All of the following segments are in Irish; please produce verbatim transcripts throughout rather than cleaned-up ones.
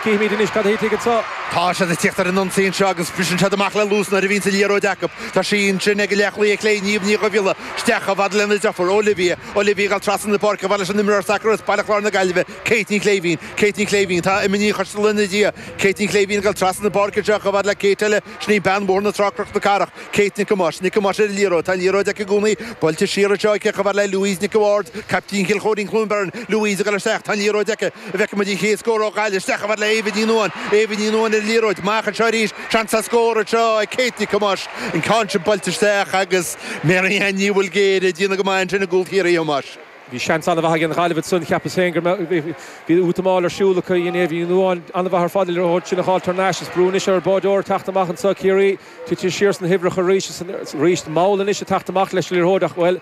Cífimid anois cad a thitfidh anseo. Tá siad ag tíocht ar an ionsaí anseo agus briseann siad amach le luas nuair a bhíonn an liathróid acu. Tá sí ansin ag leathchlaí clé Niamh Ní Dhubhghiolla isteach chomh fada lena deirfiúr Olivia. Olivia ag dul trasna na páirce chomh fada leis an imreoir sacair as Baile Chláir na Gaillimhe, Kate Ní Chléibhín. Kate Ní Chléibhín, tá Emma Ní Choisteala ina diaidh. Kate Ní Chléibhín ag dul trasna na páirce anseo chomh fada le Kate eile, sin í bean Bhóthar na Trá Cnoc na Cathrach, Kate Nic Thomáis. Nic Thomáis ar an liathróid. Tá an liathróid aici i gcónaí. Buailte siar anseo aici chomh fada le Louise Nic a' Bhaird, caiptín Chill Chóirín Cluain Bheirn. Louise ag dul isteach. Tá an liathróid aici. An bhfeicfidh muid an chéad scór ó Ghaillimh. Isteach chomh fada le Éabha Ní Nuadháin. Éabha Ní Nuadháin ar an liathróid. Amach anseo arís. Seans ar scór anseo ag Kate Nic Thomáis. An ceann sin buailte isteach agus Mary Ann Ní Bhuilgéire ag déanamh go maith ansin i gcúl Chiarraí, a Thomáis. Bhí seans an-mhaith ag an Ghaillimh ansan, cheapas féin go mbeadh, bhí útamáil ar siúl acu, dhein Éabha Ní Nuadháin an-mhaith ar fad an liathróid sin a dh'fháilt thar n-ais. Is brú anois ar an báideoir teacht amach anso, Ciarraí tite siar sna huimhreacha arís, arís mall anois ag teacht amach leis an liathróid ach, bhuel,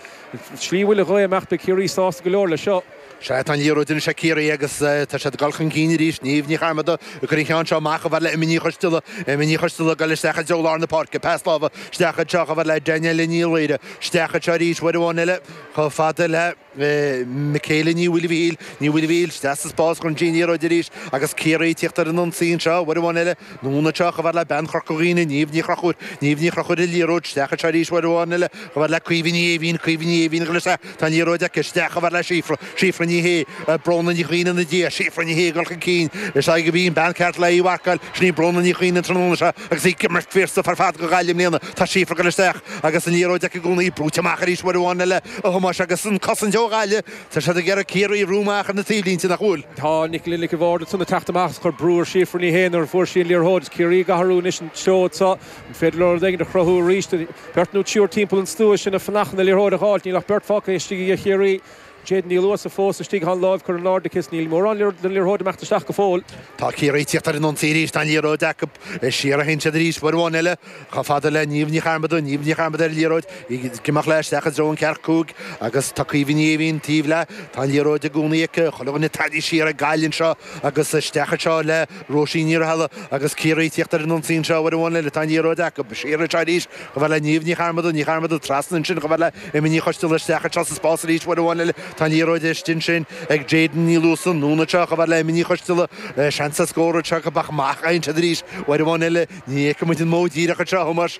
slí a bhfuil an ghaoth ag imeacht beidh Ciarraí sásta go leor leis seo. Sea, tá an liathróid anois ag Ciarraí agus tá siad ag dul chun cinn arís. Niamh Ní Chearmada ag cur an cheann seo amach chomh fada le Emma Ní Choisteala. Emma Ní Choisteala ag dul isteach i dtreo lár na páirce. Pas láimhe isteach anseo chomh fada le Danielle Ní Laoire. Isteach anseo arís uair amháin eile chomh fada le Michaela Ní Mhaoilmhichíl. Ní Mhaoilmhichíl isteach sa spás chun an liathróid arís agus Ciarraí ag tíocht ar an ionsaí anseo uair amháin eile. Anonn anseo chomh fada le bean Chorca Dhuibhne, Niamh Ní Chonchúir. Niamh Ní Chonchúir ar an liathróid isteach anseo arís uair amháin eile chomh fada le Caoimhe Ní Éimhín. Caoimhe Ní Éimhín ag dul isteach. Tá an liathróid aici isteach chomh fada le Síofra. Síofra Ní Shé, Bróna Ní Chuinn ina diaidh. Síofra Ní Shé ag dul chun cinn. Is í a bhí an bean ceart le í a mharcáil. Sin í Bróna Ní Chuinn an tráthnóna seo agus í ag imirt fíorsaoth ar fad do Ghaillimh i mbliana. Tá Síofra ag dul isteach agus an liathróid aici i gcónaí. Brúite amach arís uair amháin eile a Thomáis agus an cosaint ó Ghaillimh. Tá siad ag iarraidh Ciarraí a bhrú amach ar na taobhlínte, nach bhfuil? Tá Nicola Nic a' Bhaird ansan ag teacht amach is ag cur brú ar Shíofra Ní Shé nuair a fuair sí an liathróid. Is Ciarraí ag athrú anois an treo anseo. An féidir leo rud éigin a chruthú arís? Beirt nó triúr timpeall an stua sin ag fanacht chun an liathróid a dh'fháilt. Níl ach beirt fágtha istigh ag Chiarraí. Jayden Ní Luasa fós istigh, tá an láimh curtha in airde aici is níl mórán den liathróid ag imeacht isteach go fóill. Tá Ciarraí ag tíocht ar an ionsaí arís, tá an liathróid acu. Siar a théann siad arís, uair amháin eile, chomh fada le Niamh Ní Chearmada. Niamh Ní Chearmada ar an liathróid, í ag imeacht léi isteach i dtreo an ceathracha cúig agus tá Caoimhe Ní Éimhín taobh léi. Tá an liathróid i gcónaí aici. Chuile dhuine tarraingthe siar ag Gaillimh anseo agus isteach anseo le Róisín Ní Rathaille agus Ciarraí ag tíocht ar an ionsaí anseo uair amháin eile. Tá an liathróid acu. Siar anseo arís chomh fada le Niamh Ní Chearmada. Ní Chearmada trasna ansin chomh fada le Emma Ní Choisteala isteach anseo sa spás arís uair amháin eile. Tá an liathróid istigh ansin ag Jayden Ní Luasa. Anonn anseo chomh fada le Emma Ní Choisteala. Seans ar scór anseo acu ach amach a théann siad arís uair amháin eile. Ní fheicfidh muid an modh díreach anseo, a Thomáis,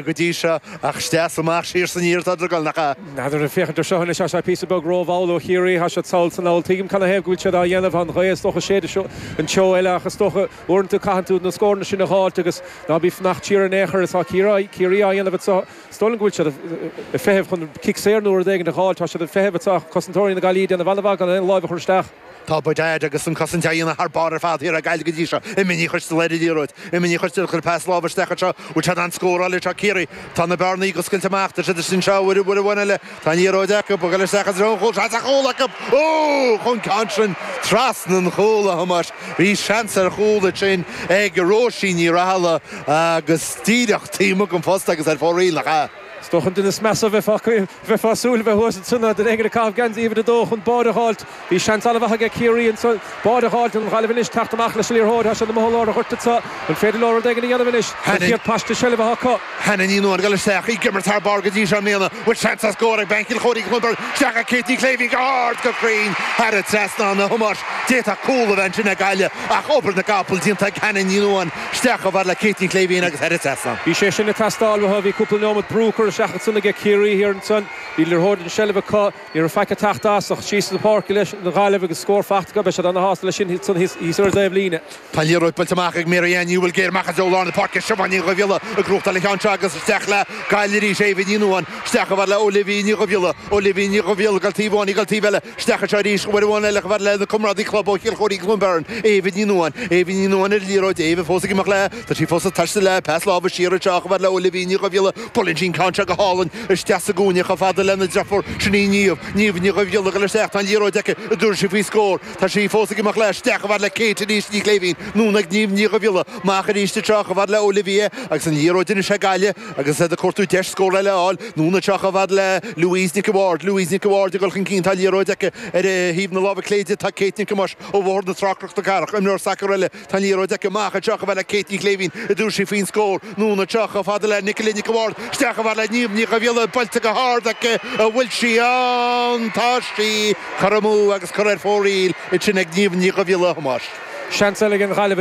go dtí seo ach isteach is amach, siar is aniar atá ag dul, nach ea? N'fheadar, ag féachaint ar seo anois, tá sé píosa beag rómhall ó Chiarraí, tá siad sall is anall. Tuigim canathaobh go bhfuil siad á dhéanamh, tá an ghaoth is dócha ag séideadh an treo eile ach is dócha uaireanta caitheann tú na scóranna sin a dh'fháilt agus ná bí ag fanacht siar in aon chor is tá Ciarraí á dhéanamh anseo. Is dóigh liom go bhfuil siad ag feitheamh chun cic saor nó rud éigin a dh'fháilt. Tá siad ag feitheamh anseo ach cosantóirí na Gaillimhe ag déanamh an-mhaith gan aon láimh a chur isteach. Tá Bodad agus an cosaint á dhéanamh thar barr ar fad thiar ag Gaillimh go dtí seo. Emma Ní Choisteala ar an liathróid. Emma Ní Choisteala ag cur pas láimhe isteach anseo. Bhfuil siad in ann scóráil anseo Ciarraí? Tá na bearnaí ag oscailt amach. Tá siad istigh anseo uair uair amháin eile. Tá an liathróid acu. Ag dul isteach i dtreo an chúil. Seans ar chúl acu! Ó! Chuaigh an ceann sin trasna an chúil, a Thomáis. Bhí seans ar chúl ansin ag Róisín Ní Rathaille agus díreach taobh amuigh den phosta agus ar fóraoil, nach ea? Is dócha an duine is measa a bheifeá ag súil a bheith thuas ansan ná duine éigin ag caitheamh geansaí uimhir a dó chun báide a dh'fháilt. Bhí seans an-mhaith aige Ciarraí ansan báide a dh'fháilt. An Ghaillimh anois teacht amach leis an liathróid. Tá siad amuigh i lár an ghoirt anso. An féidir leo rud éigin a dhéanamh anois? An chéad paiste seilbhe atá acu. Hannah Ní Nuadháin ag dul isteach, í ag imirt thar barr go dtí seo i mbliana. Bhfuil seans ar scór ag bean Chill Chóirín Cluain Bheirn? Isteach ag Kate Ní Chléibhín go hard go cruinn thar an trasnán, a Thomáis. D'fhéadfadh cúl a bheith ansin ag Gaillimh ach obair na gcapall déanta ag Hannah Ní Nuadháin. Isteach chomh fada le Kate Ní Chléibhín agus thar an trasnán. Bhí sé sin ag teastáil uathu. Bhí cúpla neomat brú curtha isteach ansan aige Ciarraí thiar ansan. Bhí liathróid i seilbh acu. Ní raibh faic ag teacht as ach síos an pháirc leis an Ghaillimh agus scór faighte acu. Beidh siad ana-shásta leis sin ansan thíos ar an dtaobh líne. Tá an liathróid buailte amach ag Mary Ann Ní Mhaoilghéir amach i dtreo lár na páirce. Siobhán Ní Dhubhghiolla ag gnóthachtáil an cheann seo agus isteach le Gaillimh arís. Éabha Ní Nuadháin isteach chomh fada le Olivia Ní Dhubhghiolla. Olivia Ní Dhubhghiolla ag dul taobh amháin, ag dul taobh eile. Isteach anseo arís, uair amháin eile chomh fada lena comrádaí club ó Chill Chóirín Cluain Bheirn, Éabha Ní Nuadháin. Éabha Ní Nuadháin ar an liathróid, Éabha fós ag imeacht léi. Tá sí fós ag taisteal léi, pas láimhe siar anseo chomh fada le Olivia Ní Dhubhghiolla. Buaileann sí an ceann seo go hálainn isteach sa gcúinne chomh fada lena deirfiúr, sin í Niamh. Niamh Ní Dhubhghiolla ag dul isteach, tá an liathróid aici, an dtabharfaidh sí faoi scór. Tá sí fós ag imeacht léi, isteach chomh fada le Kate arís Ní Chléibhín, anonn ag Niamh Ní Dhubhghiolla, amach arís anseo chomh fada le Olivia agus an liathróid anois ag Gaillimh agus iad ag cuartú deis scór eile a fháil, anonn anseo chomh fada le Louise Nic a' Bhaird, Louise Nic a' Bhaird ag dul chun cinn, tá an liathróid aici ar thaobh na láimhe clé di, tá Kate Nic Thomáis ó Bhóthar na Trá Cnoc na Cathrach, imreoir sacair eile, tá an liathróid aici amach anseo chomh fada le Kate Ní Chléibhín, an dtabharfaidh sí faoin scór, anonn anseo chomh fada le Nicola Nic a' Bhaird, isteach chomh fada le Niamh Ní Dhubhghiolla, buailte go hard aici, an bhfuil sí ann? Tá sí! Curtha amú agus curtha ar fóraoil ansin ag Niamh Ní Dhubhghiolla, a Thomáis. Seans eile ag an Ghaillimh.